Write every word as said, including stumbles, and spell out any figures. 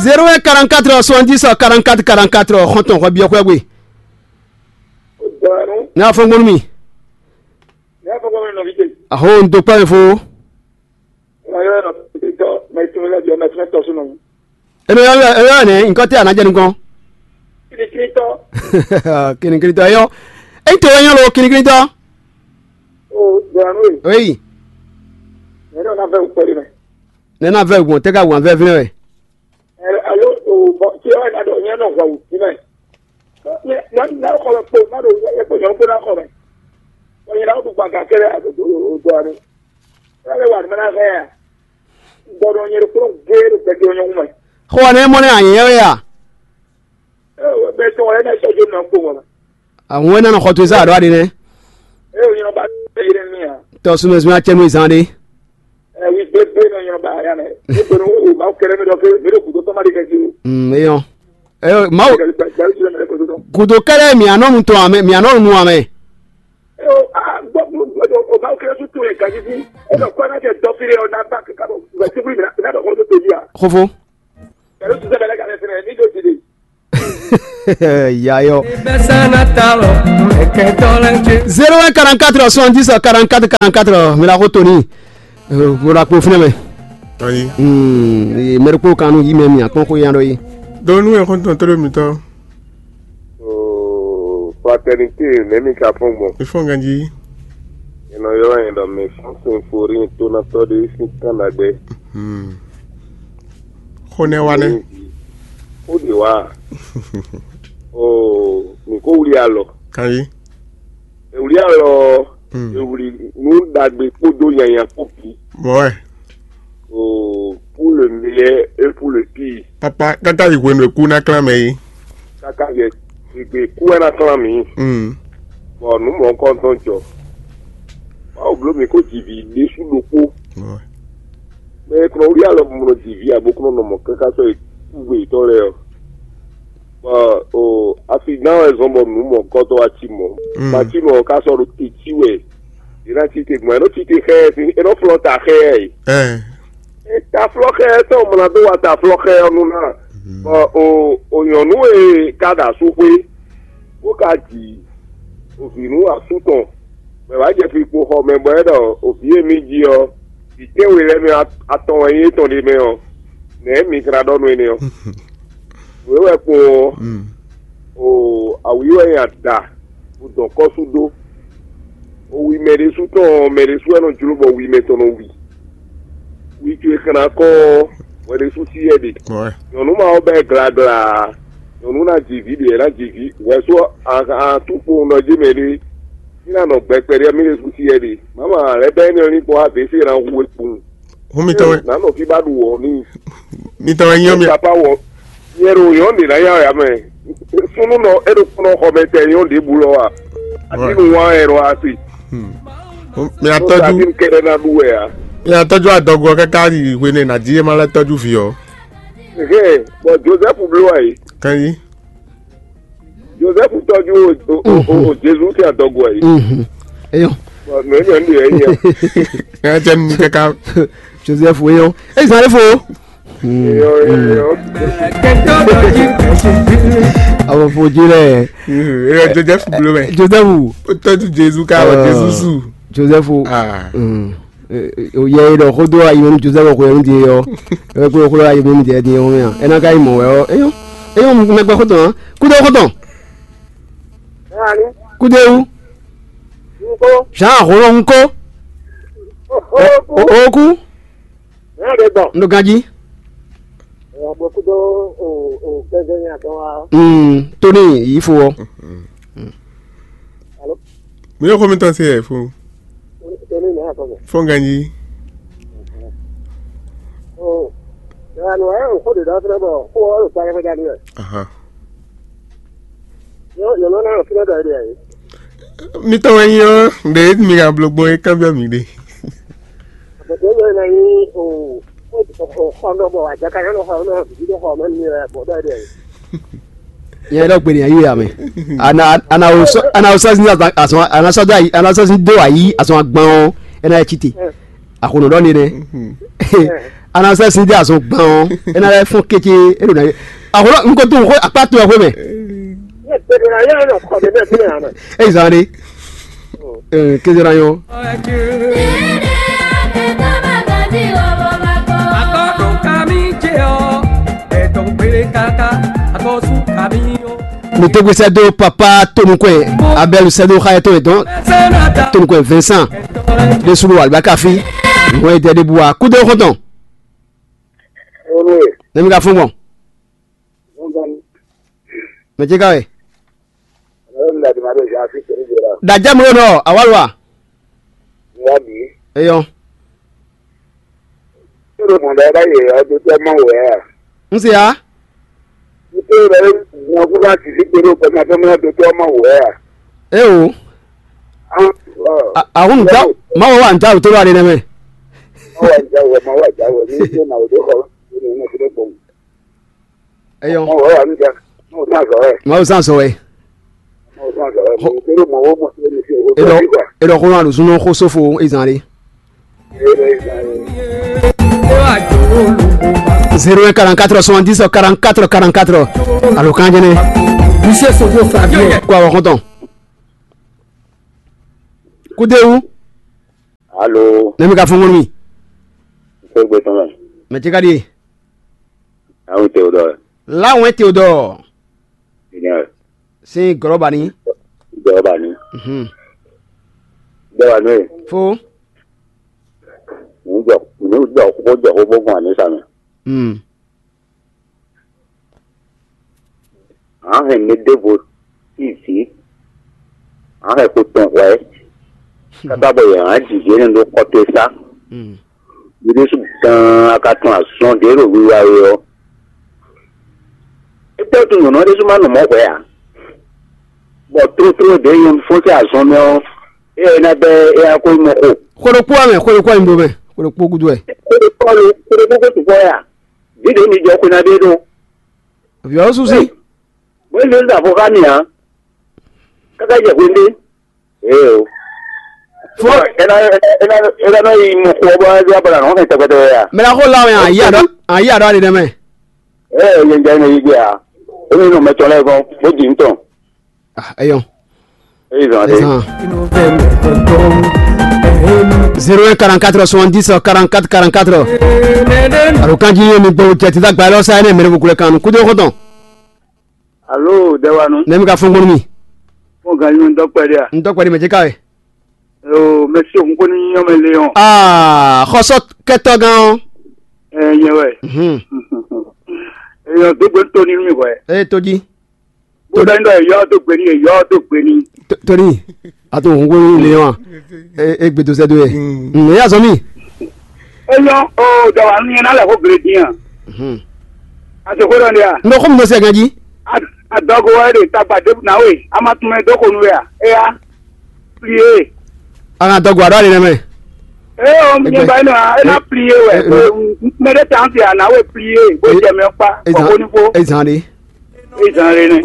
Zéro un quarante-quatre soixante-dix quarante-quatre quarante-quatre, xɔntɔn hwɛ biɔ hwɛ gbe. Dɔwɛnu, Ne afɔngbɔnu mi. Ne afɔngbɔnu mi nɔvi ce. Aho n do kpa mi fo. Ena yɔ nɔ tɔ mɛ tun lɛ jɔ mɛ tun tɔ sunu. Eno yɔ yɔ yɔ ne nkɔ te anajɛ nukɔn. Kini kini tɔ. Kini kini tɔ yɔ. Eyi to yɔ lo kini kini tɔ. O dɔwɛnu ye. Oyi. Ne dɔ na vɛ ukpɛ de mɛ. Ne na vɛ gbɔn tɛ ka wan vɛ vinɛ wɛ. Alo o bɔ tí ɔ na dɔ nyɛ nɔ hwa wù tí mɛ. Nyɛ na xɔ mɛ kpo na do yɛ kpo nyɔnu kpo na xɔ mɛ. Nyɛ na do gba ga kɛlɛ do do do ani. Ɛ lɛ wa ni mɛ na hɛ ya. Gbɔdɔ nyɛ do kpo gé do gbɛdɔ nyɔnu mɛ. Xɔ ne mɔ ne anyɛ wɛ ya. Ɛ bɛ tɔn lɛ na sɔ jo na kpo wala. Àwọn ẹ̀ nánà xɔ tó sá àɖó àɖé nɛ. Ɛ o nyɛ ba ɛ yɛ mi ya. Tɔ súnmọ́ súnmọ́ acɛnú ìzán ɖé. Ɛ wi gbé gbé nɔ nyɛ ba ya nɛ. Ɛ gbé nɔ o ma kɛlɛ mi dɔ ke mi do kudo tɔma de kɛ ji o. Mm, eyɔn. Eyɔn, mawu. Kɛlɛ kɛlɛ kɛlɛ kɛlɛ kɛlɛ kɛlɛ. Kudo kɛlɛ mi anɔ nu tɔn amɛ, mi anɔ nu amɛ. Ɛ o a gbɔ gbɔ gbɔ o ma kɛlɛ tu tu yɛ gaji fi. Ɛ dɔ kɔ na kɛ dɔ fi de o na ba kɛ ka bɔ. Ɛ ti fi mi na dɔ kɔ to to ji a. Xofo. Kɛlɛ tu sɛ bɛ lɛ ka lɛ fɛnɛ ni do ji de. Yayɔ. Zéro un quarante-quatre soixante-dix quarante-quatre quarante-quatre, mi la ko toni. Bora kpo fúnɛ mɛ. Ayi. Hmm, mɛri kpo kanu yi mɛ mi akpɔn ko yan dɔ yi. Donc nous est content de mi to. Oh, fraternité, même ka fɔn gbɔn. Il faut gagner. Eno yɔ yɛn dɔ mi fɔn sin fori to na tɔ de sin kan dagbe. Hmm. Xó nɛ́ wá nɛ́. Xó ɖě wá. Oo, mǐ ko wlí alɔ. Kanyi. È wlí alɔ ɔ́, è wlí nú ɖagbe kpódó nyanya kpó bǐ. Bɔ́ wɛ. Oo, pour le meilleur et pour le pire. Papa, káká yi hwenu e kú ná klán mɛ é. Káká yɛ gběgbé kú wɛ ná klán mǐ. Mm. Bɔ nǔ mɔ̌hunkɔtɔn jɔ. Mawu bló mǐ kó ji vǐ ɖésú ɖokpó. Bɔ́ wɛ. Mɛ e kplɔ́n wlí alɔ mɔ ji vǐ abo kplɔ́n nɔ mɔ káká sɔ́ yi kú gbeyítɔ́ lɛ́ɛ ɔ́. Bɔ o afi gán wɛ zɔn bɔ nǔ mɔ̌hunkɔtɔn wá cí mɔ̌. Mm. Matínu ɔ́ ká sɔ́ ɖo te cí wɛ. È nǎ cí te gbɔn, è nɔ cí te xɛ ɛ sín, è nɔ flɔ́ ta xɛ ɛ yi. Ɛ. Taflɔ́xɛ tɔn mla dó wa taflɔ́xɛ ɔ́ nu ná. Bɔ o o nyɔ̌nu e ka ɖo asúxwé, bó ka ji ovǐ nú asú tɔn, bɔ è wǎ jɛ fi kpo xɔ mɛ, bɔ é ɖɔ ovǐ e mì ji ɔ́, vǐ tɛ́nwe lɛ́ɛ mɛ atɔn wɛ nyí étɔn ɖé mɛ ɔ́, nɛ̌ mi ka ná ɖɔ nú énɛ́ ɔ́? Nǔ e wɛ kpo ɔ́, o awǐ wɛ nyi ada, bó dɔn kɔ́ sú dó. O wi mɛ ɖésú tɔn ɔ́, mɛ ɖésú wɛ nɔ jló bɔ wi mɛ tɔn nɔ wi. Wi towe xlán kɔn ɔ́, hwɛ ɖésú sí yɛ ɖe. Nyɔ̌nu ma ɔ́ bɛ́ glagla. Nyɔ̌nu ná ji vǐ ɖě ná ji vǐ. Hwɛ sú atúnkpo nɔ jé mɛ ɖé. Mí ná nɔ gbɛ kpɛɖé mí ɖésú sí yɛ ɖe. Mama lɛ́ bɛ́ énɛ́ ɔ́ ní kpɔ́n wá vě sí ná hu we kpowun. Hún mitɔn wɛ. Nǎ nɔ fí bá ɖu wɔ n'i. Mitɔn wɛ nyɔ mi. Papa wɔ. Nyɛ ɖo nyɔ ɖe ná yá ya mɛ. Súnnu nɔ é ɖo kplɔ́n xɔ mɛ tɛ nyɔ ɖěbǔ lɔ wa. Atinu wa ɛ ɖo asi. Mi Tó atɔjú. Atinu kɛɖɛ ná ɖu wɛ a. Mi atɔjú adɔgɔ káká yi hwene ná jí é má lɛ tɔjú vǐ ɔ. Hɛn, bɔ Joseph bló wɛ yi. Kanyi. Joseph tɔjú o o o o Jezu tɛ adɔgɔ yi. Mhm. Eyɔn. Bɔ mɛ mɛ nu yɛ yi. Ɛ tɛ nu kaka. Joseph eyɔn. Ezan lɛ fo. Eyɔn eyɔn. Awɔ fo ji lɛ. Eyɔn Joseph blo mɛ. Joseph. O tɔjú Jezu ká wɔ Jezu su. Joseph. Ah. Mm. O yɛ yi ɖɔ xó dó ayi mɛ nú Joseph xó yɛ nú din yɔ. Ɛ kó xó dó ayi mɛ nú din yɔ mɛ a. Ɛ ná ka yi mɔ wɛ ɔ. Eyɔn. Eyɔn mɛ gbɛ xó tɔn. Kúdó xó tɔn. Kúdó ewu. Jean Rolongo. O o kú. N ɖo ganjí. Tóní yìí fo ɔ. Mi yóò kó mi tán sí ẹ̀ fún. Fún ganjí. Aha. Mitɔn wɛ nyí ɔ́, ɖe mi ka bló gbɔn é kanbyɔ́ mi ɖe. Nyɛ ɖɔ gbe ni ayi ya mɛ. Ana ana o sɔ ana o sɔ sin asɔn ana sɔ do ayi ana sɔ sin do ayi asɔn agban o ɛna ɛ tite. Akono dɔ ni nɛ. A nɔ sɛ́ sin dé azɔn gban ɔ́, é ná lɛ́ fɔ́n kéké, é ɖo ná. Ahwlɔ un ko tunwun xó akpá to ɛ xwé mɛ. Ey zan ɖe. Kézé ná nyɔ́. Mi tɛgbɛ sɛ dó papa tonukɔɛ, Abel sɛ dó xayɛ tɔn yɛ dɔn, tonukɔɛ Vincent ɖe sulu alibaka fi. Wọ́n yɛ dɛ ɖe bu wa kúdó xɔntɔn. Nɛmi ka fún gbɔn. Mɛ ce ka wɛ. Ɖajɛ mló nɔ awalwa. Eyɔ. N se ya. Eo. Ahun da. Mawo wa n da o to lɔ ale nɛ mɛ. Eyɔ. Mawu zan sɔ wɛ. Eɖɔ xó nɔ aɖo súnɔ xó sófo ezan ɖé. Zéro un quarante-quatre soixante-dix quarante-quatre quarante-quatre. Alo kan jɛnɛ. Monsieur Sogo Fabien. Kó awɔ xɔntɔn. Kúdéwu. Alo. Nɛmi ka fɔn mi. Sogbe tɔn mɛ. Mɛ ce ka ɖie. Awu Théodore. Lawɛn Théodore. Seigneur. Sin gɔlɔba ni. Gɔlɔba ni. Mhm. Gɔlɔba ni. Fo. Nǔ jɔ nǔ jɔ kó jɔ kó bó gbɔn àmì sa mɛ. Mm. Hǎn hɛn mi ɖěvo sín vǐ, hǎn hɛn ko tɔn hwɛ̌, káká bɔ yě hǎn jǐ yě nɔ ɖó xɔtɛ́sá. Yě ɖésú gan a ka tunwun azɔn ɖě ɖo wiwa é ɔ́, é tɛ́ tunwun nyɔ̌nu ɔ́ ɖésú ma nɔ mɔ̌ hwɛ̌ ǎ, bɔ tlótló ɖě nyɔ̌nu fɔ́n sín azɔn mɛ ɔ́, é ɔ́ é ná bɛ́ é ná ko yi mɔ xo. Xwe ɖokpó wɛ mɛ, xwe ɖokpó wɛ mi ɖó mɛ, xwe ɖokpó gúdo wɛ. Xwe ɖokpó ɔ́ lo, xwe ɖokpó ko sukpɔ́ wɛ a? Vǐ ɖě mi jɔ xwe ná ɖe ɖó. Vǐ ɔ́ susi. Bó é zé ɖo avɔ xá mi ǎ. Káká jɛ hwendé. Ee o. Fɔ. Ena ena ena nɔ yi mɔ xɔ bɔ ɛ bla nɔ hɛn tɛgbɛtɛgbɛ ya. Mɛ la xo la wɛ ayi aɖɔ ayi aɖɔ ali ɖe mɛ. Ee yɛn jɛ ne yi gbé a. Emi nɔ mɛ tɔn lɛ gɔn bó di ntɔn. Ah, eyɔn. Eyi zɔn de. Ezan. Zéro un quarante-quatre soixante-dix quarante-quatre quarante-quatre. Alo kanji ye mi gbɔ jɛ tita gba lɔ sa ne mɛ ko kan kudo ko tɔn. Alo, Dɛwanu. Ne mi ka fɔn gbɔn mi. Fɔn gan yun dɔkpɛ de a. N dɔkpɛ de mɛ jɛ ka ye. Yo, mɛ si o ko ni nyɔ mɛ le yɔn. Ah, xɔsɔ kɛtɔ gan o. Ɛ nyɛ wɛ. Mhm. Eyɔ dogbe to ni mi wɛ. E to di. Bó dá nígbà yɔ tó gbé ní yɔ tó gbé ní. Torí a tó hun wéwú lé wa e gbèdó sɛ do yɛ. Ǹ yà sọ mí. Eyɔ o dɔwà ní yẹn n'alɛ kó gbèrè dín à. A ti kó dɔn di à. N bɛ kó mi lọ sí ẹ̀gán jí. A dɔgɔ wɛ de tagba de na we a ma tún mɛ dó ko nu wɛ à. Eya plié. A ka dɔgɔ àdó àlè nɛ mɛ. Ee o mi ba yín nɔ e na plié wɛ. Mɛ de tàn fi à na we plié bó jẹ mɛ kpa kɔkó ní fó. E zan de. E zan de nɛ.